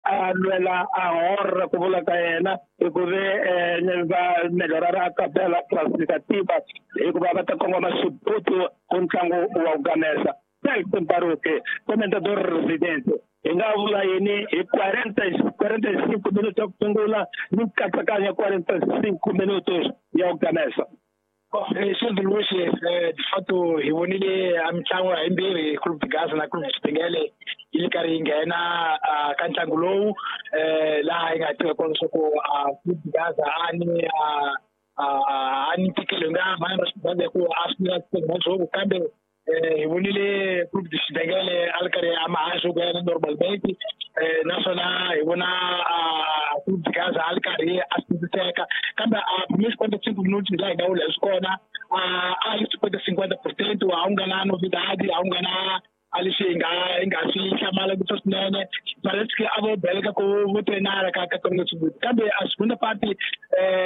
a lwela a honra ku vula ka yena hikuve va melhorara a tabela classificativa hikuva va ta kongoma xibutu ku ntlangu wa ku gamesa. Celton Baruque, comentador residente, hi nga vula yini hi 45 minutos ya ku sungula ni nkatsakanyo ya 45 minutos ya ku gamesa? Silvio Luis, de fato hi vonile a mitlangu hayimbirhi, Clube de Gaza na Clube de Xibengele yi le karhi yi nghena ka ntlangu lowu, laha yi nga tiva kona leswaku Clube de Gaza a ni a ni ntikelo hi nga mhani ra Xigaza hi ku a swi nga kambe hi vonile Clube de Xibengele a ri karhi a mahaxo ku ya normalmente, naswona hi vona Clube de Gaza a ri karhi a sindziseka, kambe a primeiros 45 minutos laha hi nga vula hi swi kona a yi 50-50%, a wu nga na novidade, a wu nga na a leswi hi nga swi hlamala ngopfu swinene. Parece que a vo beleka ku vo trenara ka ka leswi, kambe a segunda parte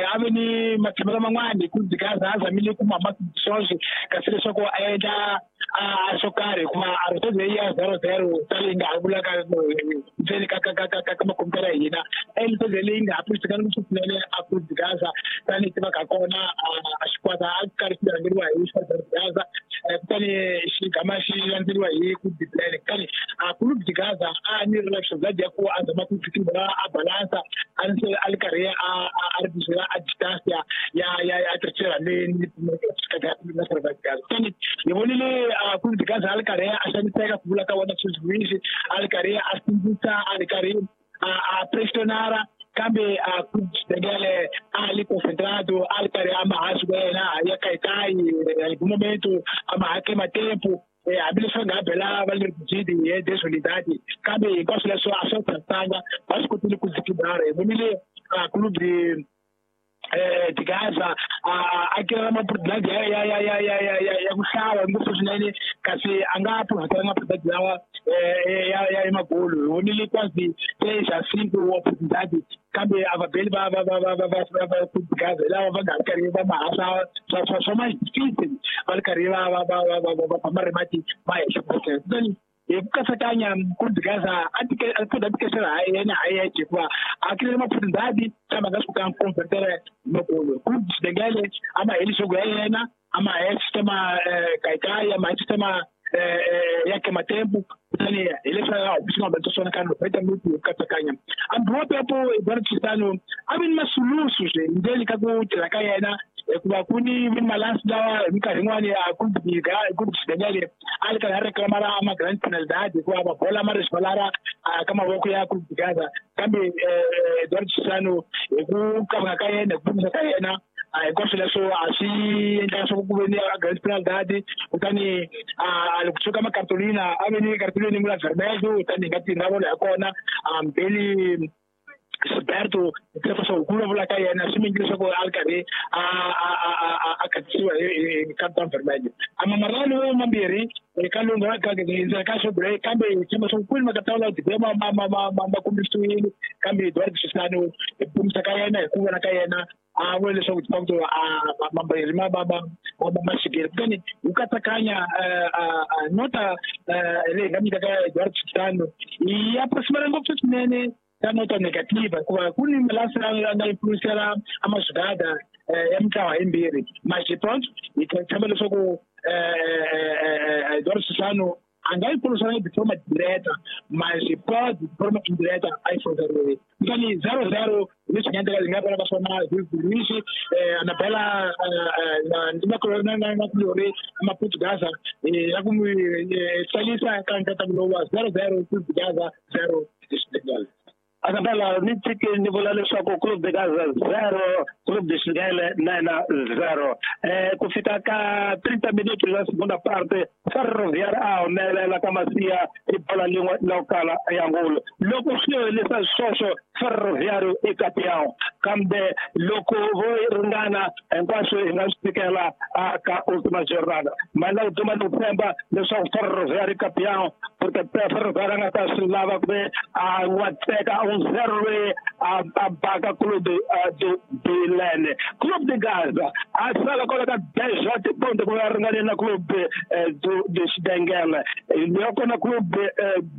a ve ni matshamelo man'wani Clube de Gaza a zamile ku mama swoswi kasi leswaku a endla a swo karhi hikuva a ri leyi ya 0-0 tani hi nga ha vulaka ndzeni ka makompyuta ya hina e leyi nga ha pfuxisekanga ngopfu swinene a Clube de Gaza tanihi tivaka kona a xikwata a karhi xi rhangeriwa hi xikwata Gaza, kutani xigama xi landzeriwa hi Clube de Plan. Kutani a Clube de Gaza a ni ri na ya ku a zama ku fikilela a balansa a ni a ri karhi a ri bizela a distance ya terceira ni na Gaza. Kutani hi vonile a Clube de Gaza a ri karhi a xaniseka ku vula ka wona Luis, a ri karhi a sindzisa, a ri karhi a pressionara, kambe a Clube de Xibengele a li concentrado, a ri karhi a mahaxi ku yena ya kayikai hi momento a mahake matempo, hambileswi va nga bela va le kujidi hi desunidade, kambe hinkwaswo leswo a swi tsakanga, va swi kotile ku zikibara. Hi vonile a Clube de Gaza a kira maoportunidade ya ku hlava ngopfu swinene, kasi a nga profitanga oportunidade lawa ya magolo. Hi vonile quase 3 a 5 oportunidade, kambe a vabeli va Clube de Gaza lava va nga ri karhi va mahasa swa ma difícil, va ri karhi va va ma rimati ma henhla. Kutani hi ku katsakanya Clube de Gaza a tikesela ha yena ha yexe hikuva a kirile maoportunidade kambe a nga swi kotanga ku convertela magolo. Clube de Xibengele a ma heli xogo ya yena, a ma heli sistema kayikai, a ma heli sistema ya kematempo, kutani hi leswi a swi nga humelela swona ka 90 minutos hi ku katsakanya. Ambiwa pepo Eduardo Chissano a vi ni masulusu swi ndzeni ka ku tirha ka yena, hikuva ku ni malansi lawa hi minkarhi yin'wani a Clube de Xibengele a ri karhi a reclamara a ma grand penalidade hikuva mabola ma resvalara ka mavoko ya Clube de Gaza, kambe Eduardo Chissano hi ku kavanga ka yena, hi ku vumisa ka yena, hinkwaswo leswo a swi endla leswaku ku ve ni a grand penalidade. Kutani a loko suka makartolina a ve ni cartolina yin'we la vermelho, kutani hi nga ti nga vona ya kona Mbeli Gilberto leswaku ku vulavula ka yena swi mingi leswaku a ri karhi a khatisiwa hi carton vermelho. A mamarano mambirhi ka lunga ndzeni ka xobule, kambe hi tshemba leswaku kwini makatawula dibe ma kombisiwile, kambe Eduardo Chissano hi ku kombisa ka yena, hi ku vona ka yena, a vula leswaku de facto a mambirhi ma xikile. Kutani hi ku katsakanya nota leyi hi nga nyikaka Eduardo Chissano yi approximate ngopfu swinene ka nota negativa, hikuva ku ni malasi ya nga influencela a mazigada ya mitlawa yimbirhi. Mas pronto, hi tshemba leswaku Eduardo Chissano a nga influencela de forma direta, mas pode de forma indireta a influenciar. Kutani 0-0 leswi nga endleka hi nga vona ka swona Luis Anabela na kulori Maputo Gaza ya ku n'wi tsalisa ka nkatsakanyo lowu wa 0-0, Clube de Gaza 0 Xibengele. Anabela, ni tshiki ni vula leswaku Clube de Gaza 0, Clube de Xibengele na 0. Ku fika ka 30 minutos ya segunda parte, Ferroviário a humelela ka Masiya hi bola lin'we la kala ya ngolo. Loko swi helisa sweswo, Ferroviário i campeão, kambe loko vo ringana hinkwaswo hi nga swi fikela ka última jornada. Mana ku duma ni ku tshemba leswaku Ferroviário campeão, porque Ferroviário a nga ta swi lava ku ve a n'watseka 1-0 loyi a baka Clube do Bilene. Clube de Gaza a sala kwala ka 10 ponto ku va ringane na Clube do Xibengele. Loko na Clube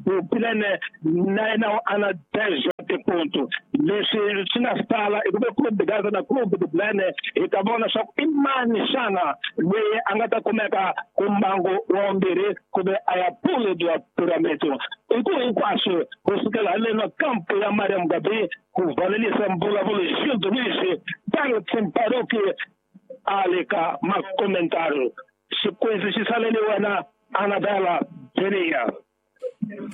do Bilene na yena a na 10. tipuntu. Leswi swi nga sala i ku ve Clube de Gaza na Clube de Bilene, hi ta vona swa ku i mani xana loyi a nga ta kumeka ku mbangu wa vumbirhi kumbe a ya pule bya piramito. I ku hinkwaswo ku sukela haleno kampo ya Maria Mugabe ku valelisa mbulavulo Gildo Luiz Tang Tsimparuki a le ka makomentari. Xikwezi xi salele wena Anabela Benia.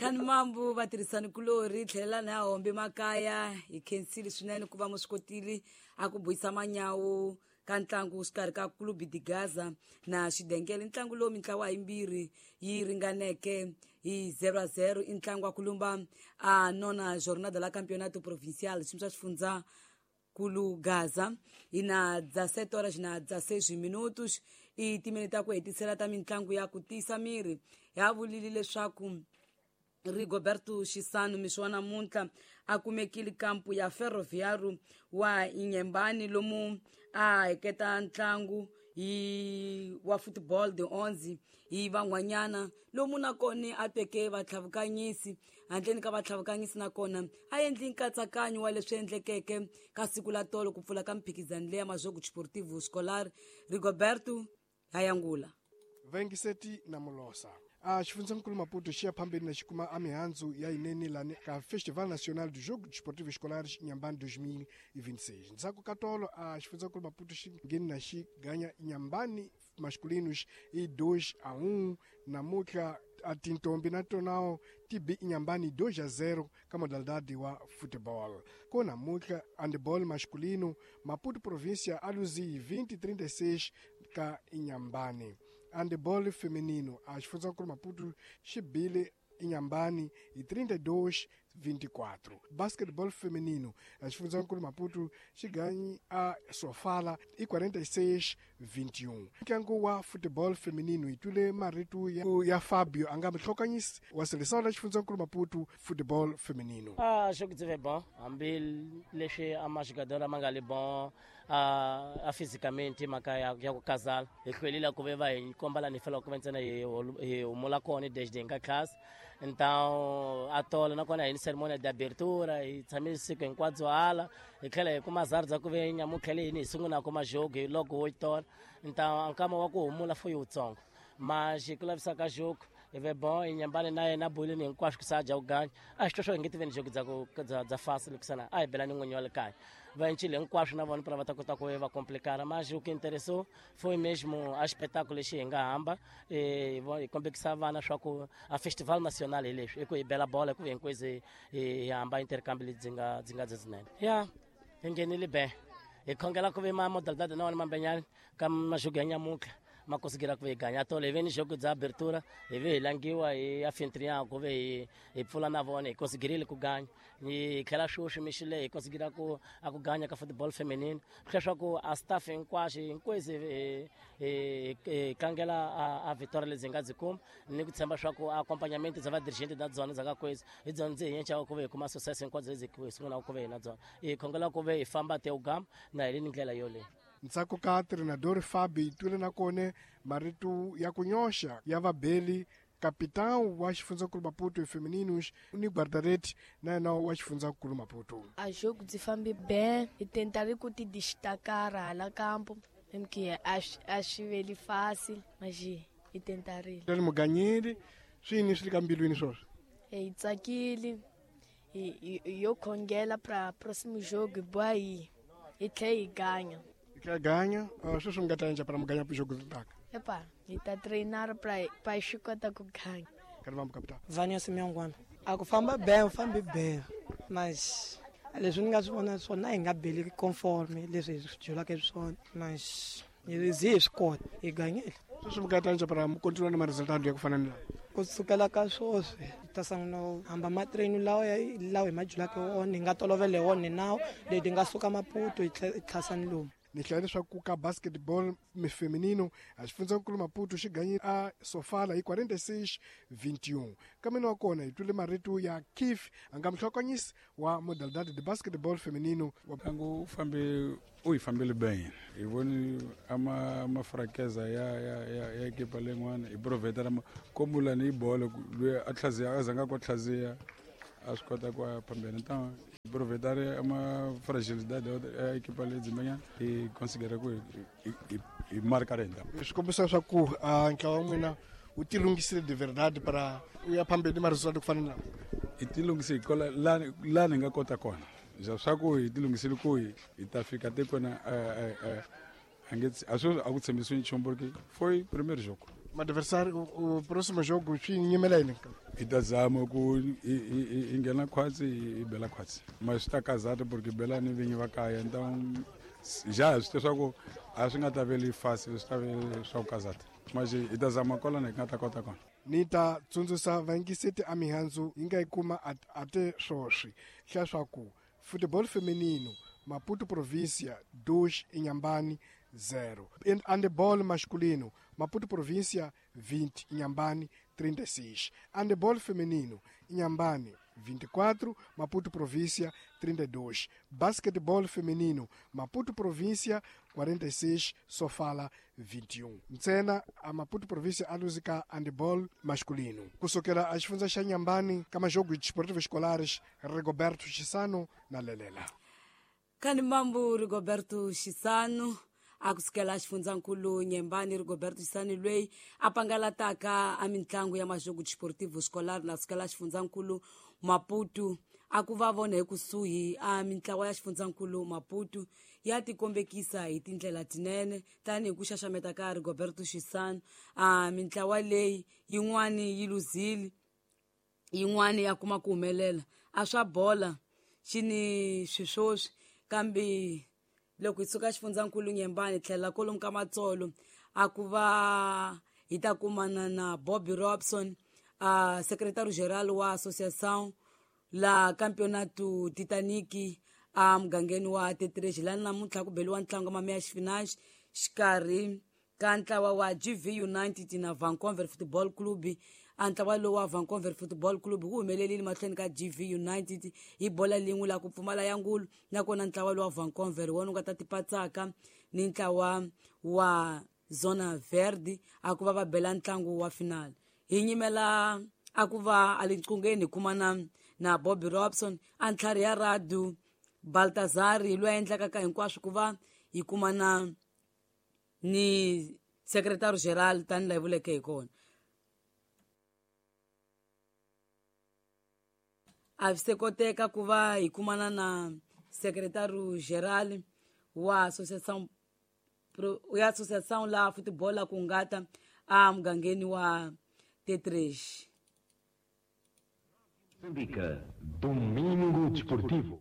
Khani mambu vatirhisani kulori tlhelela na hombe makaya hi khensile swinene ku va mu swi kotile a ku buyisa manyawu ka ntlangu xikarhi ka Clube de Gaza na Xidengele. Ntlangu lowu mintlawa yimbirhi yi ringaneke hi 0-0 i ntlangu wa ku lumba a nona jornada la campeonato provincial xiyimo xa xifundza kulu Gaza. Hi na 17 horas na 16 minutos i timini ta ku hetisela ta mintlangu ya ku tiyisa miri. Ya vulile leswaku Rigoberto Xisano mixo wa namuntlha a kumekile kampu ya Ferroviário wa Inhambane lomu a heketa ntlangu hi wa football de 11 hi van'wanyana lomu nakona a teke vatlhavukanyisi handleni ka vatlhavukanyisi nakona a endli nkatsakanyo wa leswi endlekeke ka siku la tolo ku pfula ka mphikizano leya Majogo Desportivo Escolar. Rigoberto Hayangula Vengiseti na Molosa. A xifundzankulu Maputo xi ya phambeni na xi kuma a mihandzu ya yinene lani ka Festival Nacional do Jogo Desportivo Escolar Inhambane 2026. Ndzhaku ka tolo a xifundzankulu Maputo xi ngheni na xi ganya Inhambane masculinos i 2-1. Namuntlha a tintombi na tonao ti bi Inhambane 2-0 ka modalidade wa futebol. Ko namuntlha handebol masculino Maputo província a luzi 20-36 ka Inhambane. Handebol feminino a xifundzankulu Maputo xi bile Inhambane hi 32-24. Basketball feminino a xifundzankulu Maputo xi ganyi a Sofala hi 46-21. Ntlangu wa football feminino hi twile marito ya Fabio a nga muhlokanyisi wa seleção la xifundzankulu Maputo football feminino. Jogo byi ve bon hambi leswi a majogador ma nga le bon a fisicamente mhaka ya ku kazala hi hlwelile ku ve va hi komba lani hi faneleke ku va ntsena hi humula kona desde hi nga class. Então a tola nakona hi ni cerimônia de abertura hi tshame siku hinkwabyo hala hi tlhela hi kuma zari bya ku ve nyamutlha leyi hi sungulaka majogo hi loko wo tola. Então nkama wa ku humula foi wutsongo mas ku lavisa ka jogo hi ve bon Inhambane na yena bolini hinkwaswo ku sa dya ku ganya a xi twa swo hi nge ti veni jogo bya fasi loko a hi bela ni n'winyi wa le kaya va encile hinkwaswo na vona pra va ta kota ku va complicana. Mas o que interessou foi mesmo a espetáculo lexi hi nga hamba hi kombekisa vana swa ku a festival nacional hi leswi i ku hi bela bola ku hinkwezi hi hamba intercambio lebyi nga byinene. Ya hi nghenile be hi khongela ku ve ma modalidade na wona mambenyani ka majogo ya nyamuntlha ma conseguira ku ve hi ganya tolo hi ve ni jogo bya abertura hi ve hi langiwa hi anfitrião ku ve hi pfula na vona hi conseguirile ku ganya. Hi tlhela sweswi mixile hi conseguira ku a ku ganya ka football feminine leswaku a staff hinkwaxo hinkwezi hi tlangela a victoria lebyi hi nga byi kuma ni ku tshemba swa ku accompagnamento bya vadirigente na byona bya ka kwezi hi byona ndzi hi yenxaka ku ve hi kuma success hinkwabyo lebyi hi sungulaka ku ve hi na byona. Hi khongela ku ve hi famba te ugama na hi le ndlela yoleyo. Ntsako ka treinador Fabi twile na kone marito ya ku nyoxa ya vabeli capitão wa xifundzankulu Maputo femininos ni guarda-redes na yena wa xifundzankulu Maputo. A jogo byi fambi bem hi tentare ku ti destacar hala campo porque a swi veli fácil mas hi tentarile. Ri muganyeli swi yini swi le ka mbilwini swoswo? Hi tsakile hi yo khongela pra próximo jogo boa hi tlhela hi ganya. Hi ganya sweswi mi nga ta endla para muganya jogo ritaka? Epa, hi ta treinar pra xi kota ku ganya. Capitão. Vânia Simeongwana. A ku famba bem, u fambi bem. Mas leswi ni nga swi vona swona hi nga beli conforme leswi hi swi byelaka swona. Mas hi zi hi swi kota, hi ganyile. Sweswi mi nga ta endla para mi continua na ma-resultado ya ku fana ni lawa? Ku sukela ka sweswi hi ta sungula ku hamba matrain lawa hi ma byelaka wona, hi nga tolovela wona nawu leti nga suka Maputo hi tlhasa ni lomu. Ni hlaya leswaku ka basketball feminino a xifundzankulu Maputo xi ganyile a Sofala hi 46-21. Kambe wa kona hi twile marito ya Keith a nga muhlokanyisi wa modalidade de basketball feminino. Ntlangu u hi fambile bem hi voni a mafrakeza ya ekipa leyin'wana hi proveta komula ni bolo loyi a tlhaziya a zanga ku tlhaziya a swi kota ku ya phambeni. Então Aproveitar uma fragilidade da equipa ali de manhã e conseguir e marcar ainda. Swi kombisa leswaku ntlawa wa n'wina wu tilunghisile de verdade para u ya phambeni ma resultado ku fana na hi tilunghisile kola la ni nga kota kona swa ku hi tilunghisile ku hi ta fika tikweni a swi a ku tshembisiwi nchumu porque foi primeiro jogo. Maadversário o próximo jogo swi nyimela yini? Hi ta zama ku hi nghena khwatsi hi bela khwatsi, mas swi ta kazata porque bela ni vinyi va kaya, então já swi tiva swa ku a swi nga ta veli fácil, swi ta ve swa ku kazata, mas hi ta zama kwalano hi nga ta kota kona. Ni ta tsundzuxa vayingiseti a mihandzu yi nga yi kuma ate swoswi hlaya swa ku futebol feminino Maputo província 2, Inhambane 0. Handebol masculino Maputo província 20, Inhambane 36. Handebol feminino Inhambane 24, Maputo província 32. Basquetebol feminino Maputo província 46, Sofala 21. Ntsena a Maputo província a luzika handebol masculino. Kusokela a xifundza xa Inhambane ka majogo desportivos escolares, Rigoberto Chisano na Lelela. Kani mambo Rigoberto Chisano akusukela xifundzankulu Nyembani. Rigoberto Chisano loyi a pangalataka a mitlangu ya majogo desportivo escolar na sukela xifundzankulu Maputo, a ku va vona hi kusuhi a mintlawa ya xifundzankulu Maputo ya tikombekisa hi tindlela tinene tanihi ku xaxameta ka Rigoberto Chisano. A mintlawa leyi yin'wani yi luzile, yin'wani ya kuma ku humelela a swa bola xi ni swiswoswi. Kambe loko hi suka xifundzankulu Nyembani tlhela kolomu ka Matsolo a ku va hi ta kumana na Bobby Robson, a secretario geral wa associação la campeonato Titanic a mugangeni wa Tetreji, lani namuntlha ku beliwa ntlangu wa mameya xifinaxi xikarhi ka ntlawa wa GV United na Vancouver Football Club. A ntlawa lowu wa Vancouver Football Club wu humelerile mahlweni ka GV United hi bola lin'we la ku pfumala ya ngulu, nakona ntlawa lowu wa Vancouver wona wu nga ta tipatsaka ni ntlawa wa Zona Verde a ku va va bela ntlangu wa final. Hi nyimela a ku va a le nqungeni hi kumana na Bobby Robson a ntlhari ya Radu Baltazar loyi a endlaka ka hinkwaswo ku va hi kumana ni secretary general tani laha hi vuleke hi kona. A swi se koteka ku va hi kumana na secretary general wa associação ya associação la futebol la ku ngata a mugangeni wa Tetreji. Moçambique, Domingo Desportivo.